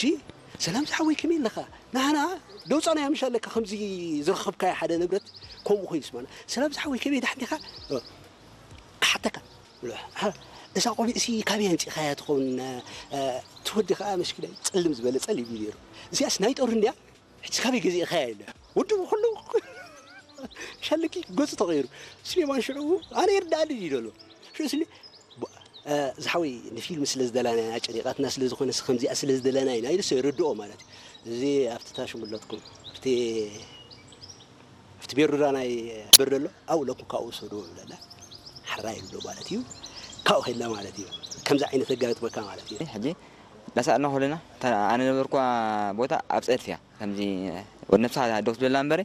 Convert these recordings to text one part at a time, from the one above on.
ዲ ሰላም ዝሓወይ ከመይ ኣለኻ? ናህና ደውፃና ያምሻ ኣለካ ከምዚ ዝረኸብካዮ ሓደ ንብረት ከምኡ ኮይኑ ስማና። ሰላም ዝሓወይ ከመይ ዳሕን ዲኻ? እ፣ ክሓተካ ብሎ፣ "ሃ፣ እዛ ቆቢዕ ሲ ካበይ ኣምፂእኻያ ትኸውን?" እ፣ እቲ ወዲ ከዓ መስኪናይ ፀልም ዝበለ ፀሊም እዩ ነይሩ። "እዚኣስ ናይ ጦር እንድያ? ሕጂ ካበይ ገዚእኻያ?" ኢለ። ወዲ ኩሉ ሻለኪ ገፁ ተቐይሩ። ስሌማን ሽዑ ኣነ ይርዳእኒ እዩ ዘሎ። ሽዑ ስሌ-፣ ብ-፣ እ፣ ዝሓወይ ንፊልም ስለ ዝደላና ኢና፣ ጨኒቓትና ስለ ዝኾነ፣ ከምዚኣ ስለ ዝደላና ኢና ኢሉ ሰ ይርድኦ ማለት እዩ። እዚ ኣብቲ ታሽሙለትኩም፣ ኣብቲ፣ ኣብቲ ቤሩራ ናይ ብር ዘሎ፣ ኣብኡ ለኩም ካብኡ ውሰድዎ ይብለና። ሓራይ ኣሎ ማለት እዩ። ካብኡ ከድና ማለት እዩ። ከምዚ ዓይነት ኣጋጥመካ ማለት እዩ። ሕጂ ዳሳእና ኮለና፣ እታ ኣነ ነበርኳ ቦታ ኣብ ጸድፊ እያ። ከምዚ ወድ ነብሳ ደው ትብለላ እምበሪ፣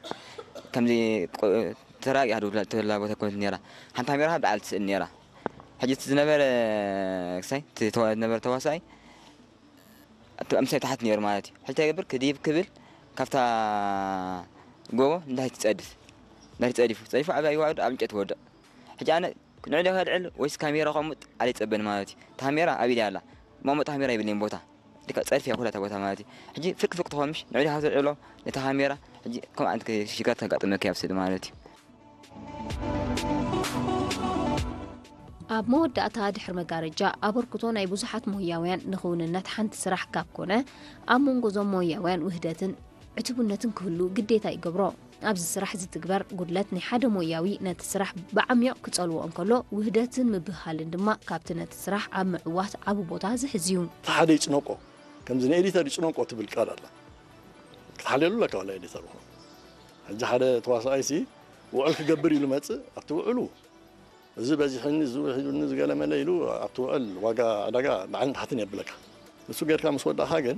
ከምዚ ቆ-፣ ተራጊ ሃዱ ትብላ ቦታ ኮነት ነይራ። ሓንቲ ካሜራ ብዓል ትስእል ነይራ። ሕጂ እቲ ዝነበረ ክሳይ፣ እቲ ተዋ-፣ ዝነበረ ተዋሳኣይ፣ እቲ ምሳይ ታሕቲ ነይሩ ማለት እዩ። ሕጂ እንታይ ይገብር? ክድይብ ክብል፣ ካብታ ጎቦ እንታይ ትጸድፍ? እንታይ ትጸዲፉ? ጸዲፉ ኣብ ኣይዋዕዱ ኣብ እንጨት ወድቕ። ሕጂ ኣነ ንዕዲ ከልዕል ወይስ ካሜራ ከሙጥ ኣለ ይጸበኒ ማለት እዩ። ካሜራ ኣብ ኢደይ ኣላ። ማሙጥ ካሜራ ይብለኝ ቦታ። ልካ ጸድፊ እያ ኩላ እታ ቦታ ማለት እዩ። ሕጂ ፍርቂ ፍርቂ ትኾን ምሽ ንዕዲ ሃብተ ዕሎ ነታ ካሜራ ሕጂ ከምኡ ዓይነት ሽግራት ተጋጥመኪ ኣብ ስእሊ ማለት እዩ። ኣብ መወዳእታ ድሕሪ መጋረጃ ኣበርክቶ ናይ ብዙሓት ሞያውያን ንኽውንነት ሓንቲ ስራሕ ካብ ኮነ ኣብ መንጎ እዞም ሞያውያን ውህደትን ዕቱብነትን ክህሉ ግዴታ ይገብሮ። ኣብዚ ስራሕ ዝትግበር ጉድለት ናይ ሓደ ሞያዊ ነቲ ስራሕ ብዓሚቕ ክጸልዎ እንከሎ ውህደትን ምብህሃልን ድማ ካብቲ ነቲ ስራሕ ኣብ ምዕዋት ዓቢ ቦታ ዝሕዝ እዩ። እቲ ሓደ ይጭነቆ ከምዚ ንኤዲተር ይጭነቆ ትብል ቃል ኣላ ክትሓልየሉ ኣለካ ዋላ ኤዲተር ይኹን ሕጂ ሓደ ተዋሳኣይሲ ውዕል ክገብር ኢሉ መፅእ ኣብቲ ውዕሉ እዚ በዚሕኒ እዚ ውሒዱኒ ዝገለመለ ኢሉ ኣብቲ ውዕል ዋጋ ዕዳጋ ላዕልን ታሕትን የብለካ ንሱ ጌርካ ምስ ወዳእካ ግን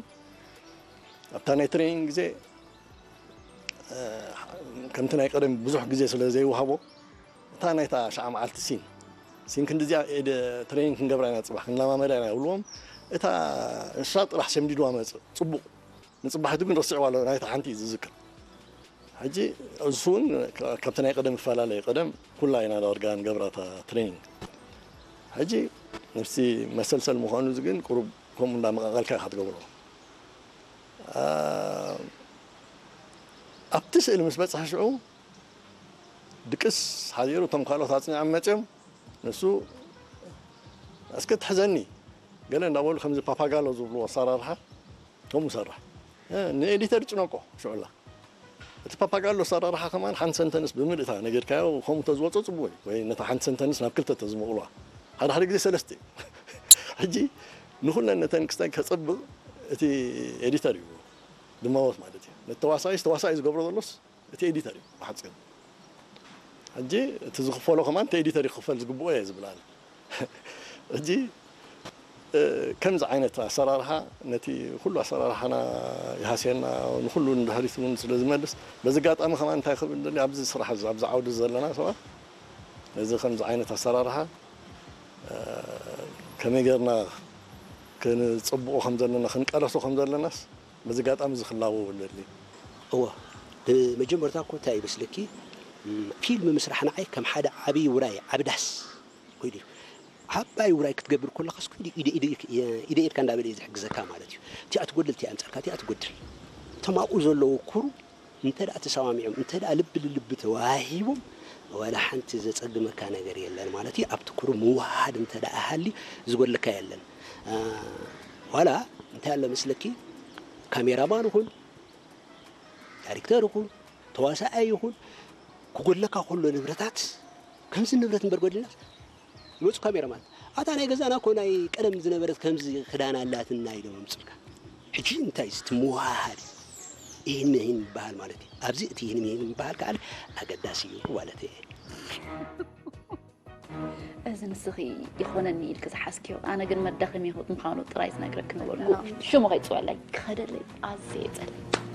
ኣብታ ናይ ትሬኒንግ ግዜ ከምቲ ናይ ቀደም ብዙሕ ግዜ ስለ ዘይወሃቦ እታ ናይታ ሸዓ መዓልቲ ሲን ሲን ክንዲዚኣ ትሬኒንግ ክንገብራ ኢና ፅባሕ ክንለማመዳ ኢና ይብልዎም እታ እሳ ጥራሕ ሸምዲድዋ መፅእ ፅቡቕ ንፅባሒቱ ግን ረስዕዋ ኣሎ ናይታ ሓንቲ እዩ ዝዝክር ሕጂ እሱ እውን ካብቲ ናይ ቀደም ይፈላለ እዩ ቀደም ኩላ ኢና ዳርጋ ንገብራ እታ ትሬኒንግ ሕጂ ነፍሲ መሰልሰል ምዃኑ እዚ ግን ቁሩብ ከምኡ እንዳመቃቀልካ ኢኻ ትገብሮ ኣብቲ ስእሊ ምስ በፅሐ ሽዑ ድቅስ ሓዚሩ እቶም ካልኦት ኣፅኒዖም መፅዮም ንሱ እስከ ትሕዘኒ ገለ እንዳበሉ ከምዚ ፓፓጋሎ ዝብልዎ ኣሰራርሓ ከምኡ ሰራሕ ንኤዲተር ይጭነቆ ሽዑላ እቲ ፓፓጋሎ ኣሰራርሓ ከማን ሓንቲ ሰንተንስ ብምልእታ ነጊርካዮ ከምኡ ተዝወፆ ፅቡቅ እዩ ወይ ነታ ሓንቲ ሰንተንስ ናብ ክልተ ተዝመቕልዋ ሓደ ሓደ ግዜ ሰለስተ እዩ ሕጂ ንኩለን ነተን ክስታይ ከፀብቕ እቲ ኤዲተር እዩ ድማወት ማለት እዩ ነቲ ተዋሳኢስ ተዋሳኢ ዝገብሮ ዘሎስ እቲ ኤዲተር እዩ ብሓፂሩ ሕጂ እቲ ዝኽፈሎ ከማን እቲ ኤዲተር ይኽፈል ዝግብኦ እየ ዝብል ኣነ ሕጂ ከምዚ ዓይነት ኣሰራርሓ ነቲ ኩሉ ኣሰራርሓና ይሃስየና ንኩሉ ንድሕሪት እውን ስለ ዝመልስ በዚ ኣጋጣሚ ከማን እንታይ ክብል ደሊ ኣብዚ ስራሕ ኣብዚ ዓውዲ ዘለና ሰባት ነዚ ከምዚ ዓይነት ኣሰራርሓ ከመይ ጌርና ክንፅብቆ ከም ዘለና ክንቀለሶ ከም ዘለናስ በዚ ኣጋጣሚ እዚ ክላበው ኣለኒ። እወ ብመጀመርታ እኮ እንታይ ይመስለኪ ፊልም ምስራሕ ንዓይ ከም ሓደ ዓብዪ ውራይ ዓቢ ዳስ ኮይኑ እዩ። ዓባይ ውራይ ክትገብር ከለኻስ ኢደ ኢድካ እንዳበለ እዩ ዝሕግዘካ ማለት እዩ። እቲኣ ትጎድል እቲኣ ኣምፀልካ እቲኣ ትጎድል እቶም ኣብኡ ዘለዉ ኩሩ እንተ ደኣ ተሰማሚዖም እንተ ደኣ ልቢ ልልቢ ተወሃሂቦም ዋላ ሓንቲ ዘጸግመካ ነገር የለን ማለት እዩ። ኣብቲ ኩሩ ምውሃሃድ እንተ ደኣ ሃልዩ ዝጎድለካ የለን። ዋላ እንታይ ኣሎ መስለኪ ካሜራማን ይኹን ዳይሬክተር ይኹን ተዋሳኣይ ይኹን ክጎድለካ ከሎ ንብረታት ከምዚ ንብረት እምበር ጎዲልናስ ይመፁ ካሜራማን ኣታ ናይ ገዛና እኮ ናይ ቀደም ዝነበረት ከምዚ ክዳን ኣላትና ኢሎም ኣምፅልካ ሕጂ እንታይ እዚ ትምውሃሃድ ይህን ይህን ይበሃል ማለት እዩ ኣብዚ እቲ ይህን ይህን ይበሃል ከዓ ኣገዳሲ እዩ ማለት እየ እዚ ንስኺ ይኾነኒ ኢልኪ ዝሓዝክዮ ኣነ ግን መዳኸሚ ህይወት ምዃኑ ጥራይ ዝነግረኪ ምበልኩ ሽሙ ከይፅወለይ ክኸደለይ ኣዝየ ይፀልእ